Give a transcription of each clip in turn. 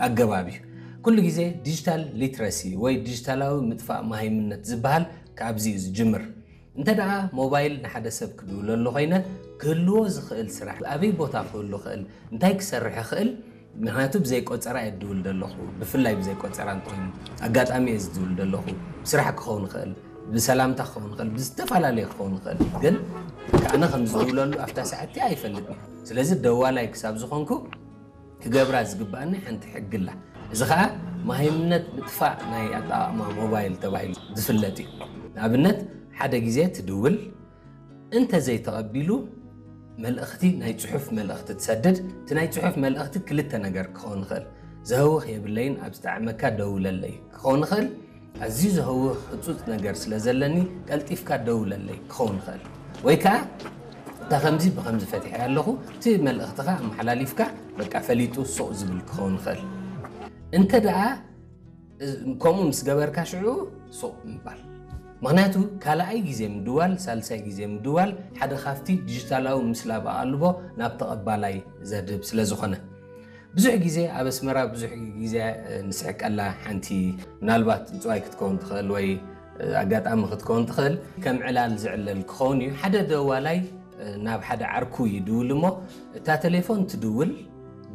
ኣገባብ እዩ። ኩሉ ግዜ ዲጂታል ሊትረሲ ወይ ዲጂታላዊ ምጥፋእ መሃይምነት ዝበሃል ካብዚ እዩ ዝጅምር። እንተ ደኣ ሞባይል ንሓደ ሰብ ክድውለሉ ኮይነ፣ ክህልዎ ዝኽእል ስራሕ፣ ኣበይ ቦታ ክህሉ ክእል፣ እንታይ ክሰርሕ ይኽእል፣ ምክንያቱ ብዘይ ቆጸራ እየ ዝድውል ዘለኹ። ብፍላይ ብዘይ ቆጸራ እንተኾይኑ፣ ኣጋጣሚ እየ ዝድውል ዘለኹ። ብስራሕ ክኸውን ይኽእል፣ ብሰላምታ ክኸውን ይኽእል፣ ብዝተፈላለየ ክኸውን ይኽእል። ግን ኣነ ከም ዝድውለሉ ኣብታ ሰዓት እቲኣ ኣይፈልጥን። ስለዚ ደዋላይ ክሳብ ዝኾንኩ ክገብራ ዝግብኣኒ ሓንቲ ሕጊ ኣላ። እዚ ኸኣ መሃይምነት ምጥፋእ ናይ ኣጠቓቕማ ሞባይል ተባሂሉ ዝፍለጥ እዩ። ንኣብነት፣ ሓደ ግዜ ትድውል፣ እንተ ዘይተቐቢሉ፣ መልእኽቲ፣ ናይ ጽሑፍ መልእኽቲ ትሰድድ። እቲ ናይ ጽሑፍ መልእኽቲ ክልተ ነገር ክኸውን ይኽእል። ዘህውኽ የብለይን፣ ኣብ ዝጠዓመካ ደውለለይ ክኸውን ይኽእል። ኣዝዩ ዘህውኽ ህጹጽ ነገር ስለ ዘለኒ፣ ቀልጢፍካ ደውለለይ ክኸውን ይኽእል። ወይ ከኣ፣ እታ ከምዚ ብኸምዚ ፈቲሐ ኣለኹ፣ እቲ መልእኽትኻ ኣመሓላሊፍካ፣ በቃ፣ ፈሊጡ ሱቕ ዝብል ክኸውን ይኽእል። እንተ ደኣ ከምኡ ምስ ገበርካ፣ ሽዑ ሱቕ ምባል። ምኽንያቱ፣ ካልኣይ ግዜ ምድዋል፣ ሳልሳይ ግዜ ምድዋል ሓደ ካብቲ ዲጂታላዊ ምስላብ ኣቓልቦ ናብ ተቐባላይ ዘድህብ ስለ ዝኾነ። ብዙሕ ግዜ ኣብ ኣስመራ ብዙሕ ግዜ፣ እ፣ ንስሕቀላ ሓንቲ፣ ምናልባት ምጽዋይ ክትከውን ትኽእል ወይ፣ እ፣ ኣጋጣሚ ክትከውን ትኽእል፣ ከም ዕላል ዝዕለል ክኸውን እዩ። ሓደ ደዋላይ፣ እ፣ ናብ ሓደ ዓርኩ ይድውል እሞ፣ እታ ቴሌፎን ትድውል፣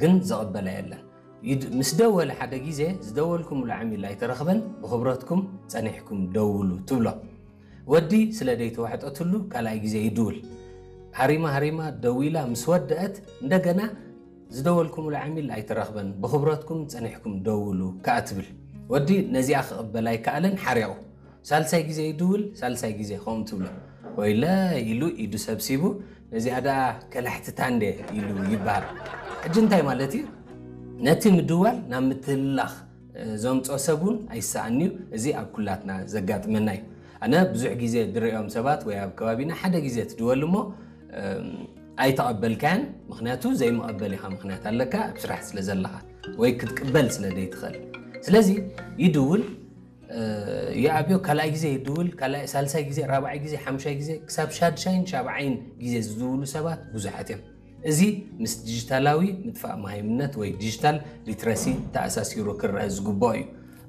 ግን ዘቐበላ የለን። ይድ-፣ ምስ ደወለ ሓደ ግዜ፣ "ዝደወልኩምሉ ዓሚል ኣይተረኽበን፣ ብኽብረትኩም ጸኒሕኩም ደውሉ" ትብሎ። ወዲ ስለ ደይተዋሕጠትሉ ካልኣይ ግዜ ይድውል። ሃሪማ ሃሪማ ደዊላ ምስ ወደአት፣ እንደገና "ዝደወልኩምሉ ዓሚል ኣይተረኽበን፣ ብኽብረትኩም ጸኒሕኩም ደውሉ" ከኣ ትብል። ወዲ ነዚኣ ክቕበል ኣይከኣለን፣ ሓሪቑ። ሳልሳይ ግዜ ይድውል፣ ሳልሳይ ግዜ ከምኡ ትብሎ። "ወይለ" ኢሉ ኢዱ ሰብሲቡ፣ "ነዚኣ ደኣ ከላሕትታ እንዴ?" ኢሉ ይበሃል። ሕጂ እንታይ ማለት እዩ? ነቲ ምድዋል ናብ ምትህልላኽ፣ እ፣ ዘምጽኦ ሰብ እውን ኣይሰኣን እዩ። እዚ ኣብ ኩላትና ዘጋጥመና እዩ። ኣነ ብዙሕ ግዜ ዝርእዮም ሰባት ወይ ኣብ ከባቢና ሓደ ግዜ ትድወል እሞ፣ እም፣ ኣይተቐበልካያን፣ ምኽንያቱ ዘይመቐበል ኢኻ ምኽንያት ኣለካ፣ ኣብ ስራሕ ስለ ዘለኻ ወይ ክትቅበል ስለ ዘይትኽእል። ስለዚ ይድውል፣ እ፣ ይኣብዮ፣ ካልኣይ ግዜ ይድውል፣ ካልኣይ፣ ሳልሳይ ግዜ፣ ራብዓይ ግዜ፣ ሓምሻይ ግዜ፣ ክሳብ ሻድሻይን ሻብዓይን ግዜ ዝድውሉ ሰባት ብዙሓት እዮም። እዚ ምስ ዲጂታላዊ ምጥፋእ መሃይምነት ወይ ዲጂታል ሊትረሲ ተኣሳሲሩ ክረአ ዝግብኦ እዩ።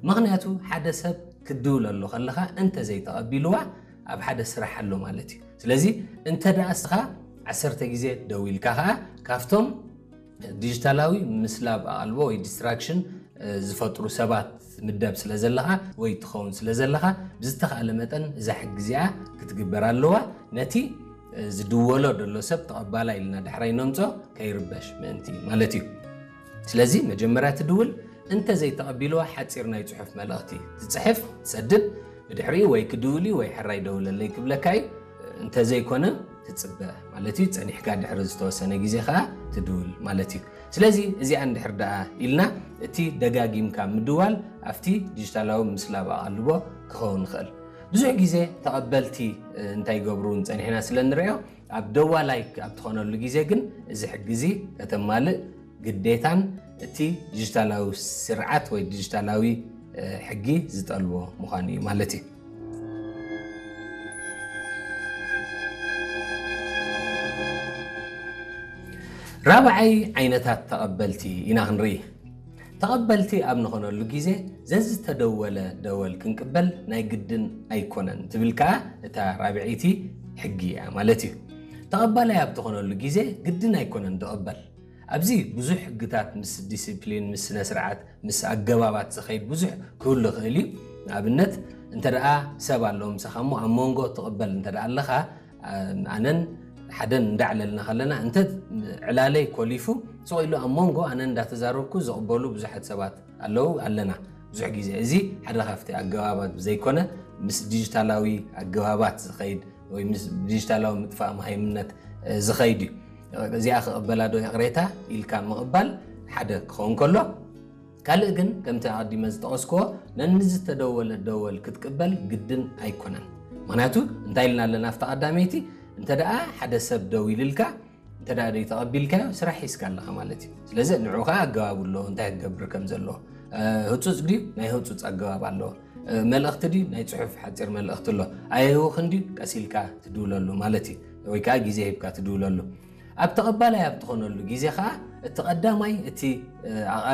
ምኽንያቱ፣ ሓደ ሰብ ክትድውለሉ ከለኻ እንተ ዘይተቐቢልዋ፣ ኣብ ሓደ ስራሕ ኣሎ ማለት እዩ። ስለዚ፣ እንተ ደኣ እስኻ ዓሰርተ ግዜ ደዊልካ ኸኣ፣ ካብቶም ዲጂታላዊ ምስላብ ኣቓልቦ ወይ ዲስትራክሽን፣ እ፣ ዝፈጥሩ ሰባት ምደብ ስለ ዘለኻ ወይ ትኸውን ስለ ዘለኻ፣ ብዝተኻእለ መጠን እዛ ሕጊ እዚኣ ክትግበር ኣለዋ። ነቲ፣ እ፣ ዝድወሎ ዘሎ ሰብ ተቐባላይ ኢልና ዳሕራይ ነምጾ ከይርበሽ ምእንቲ ማለት እዩ። ስለዚ መጀመርያ ትድውል፣ እንተ ዘይተቐቢልዋ ሓጺር ናይ ጽሑፍ መልእኽቲ ትጽሕፍ፣ ትሰድድ፣ ብድሕሪኡ ወይ ክድውል እዩ ወይ ሕራይ ደውለለይ ክብለካ እዩ። እንተ ዘይኮነ ትጽበ ማለት እዩ። ጸኒሕካ ድሕሪ ዝተወሰነ ግዜ ከኣ ትድውል ማለት እዩ። ስለዚ እዚኣ እንድሕር ደኣ ኢልና፣ እቲ ደጋጊምካ ምድዋል ኣብቲ ዲጂታላዊ ምስላብ ኣቓልቦ ክኸውን ይኽእል። ብዙሕ ግዜ ተቐበልቲ፣ እ፣ እንታይ ይገብሩ ጸኒሕና ስለ ንርእዮ፣ ኣብ ደዋላይ ኣብ ትኾነሉ ግዜ ግን እዚ ሕጊ እዚ ከተማልእ ግዴታን እቲ ዲጂታላዊ ስርዓት ወይ ዲጂታላዊ፣ እ፣ ሕጊ ዝጠልቦ ምዃኑ እዩ ማለት እዩ። ራብዓይ ዓይነታት ተቐበልቲ ኢና ክንርኢ። ተቐበልቲ ኣብ ንኾነሉ ግዜ ዘዝተደወለ ደወል ክንቅበል ናይ ግድን ኣይኮነን ትብል ከኣ እታ ራብዐይቲ ሕጊ እያ ማለት እዩ። ተቐባላይ ኣብ ትኾነሉ ግዜ ግድን ኣይኮነን ዝቕበል። ኣብዚ ብዙሕ ሕግታት ምስ ዲሲፕሊን፣ ምስ ስነ ስርዓት፣ ምስ ኣገባባት ዝኸይድ ብዙሕ ክህሉ ይኽእል እዩ። ንኣብነት፣ እንተ ደኣ ሰብ ኣሎ ምሳኻ እሞ ኣብ መንጎ ትቕበል እንተ ደኣ ኣለኻ፣ ኣነን ሓደን እንዳዕለልና ከለና፣ እንተ ዕላለይ ኮሊፉ፣ ስቕ ኢሉ ኣብ መንጎ ኣነ እንዳተዛረብኩ ዝቕበሉ ብዙሓት ሰባት ኣለዉ፣ ኣለና። ብዙሕ ግዜ እዚ ሓደ ካብቲ ኣገባባት ዘይኮነ፣ ምስ ዲጂታላዊ ኣገባባት ዝኸይድ ወይ ምስ ዲጂታላዊ ምጥፋእ መሃይምነት፣ እ፣ ዝኸይድ እዩ። እዚኣ ክቕበላ ዶ ይቕሬታ ኢልካ ምቕባል ሓደ ክኸውን ከሎ፣ ካልእ ግን ከምቲ ኣቐዲመ ዝጠቐስክዎ ነንዝተደወለ ደወል ክትቅበል ግድን ኣይኮነን። ምኽንያቱ እንታይ ኢልና ኣለና ኣብታ ቀዳመይቲ፣ እንተ ደኣ ሓደ ሰብ ደዊልልካ፣ እንተ ደኣ ደይ ተቐቢልካዮ ስራሕ ሒዝካ ኣለኻ ማለት እዩ። ስለዚ ንዑ ኸዓ ኣገባብ ኣለዎ፣ እንታይ ክገብር ከም ዘለዎ። እ፣ ህጹጽ ድዩ? ናይ ህጹጽ ኣገባብ ኣለዎ። እ፣ መልእኽቲ ድዩ? ናይ ጽሑፍ ሓጺር መልእኽቲ ኣሎ። ኣየህውኽን ድዩ? ቀስ ኢልካ ትድውለሉ ማለት እዩ። ወይ ከኣ ግዜ ሂብካ ትድውለሉ። ኣብ ተቐባላይ ኣብ ትኾነሉ ግዜ ኸዓ እቲ ቀዳማይ፣ እቲ፣ እ፣ ኣቓል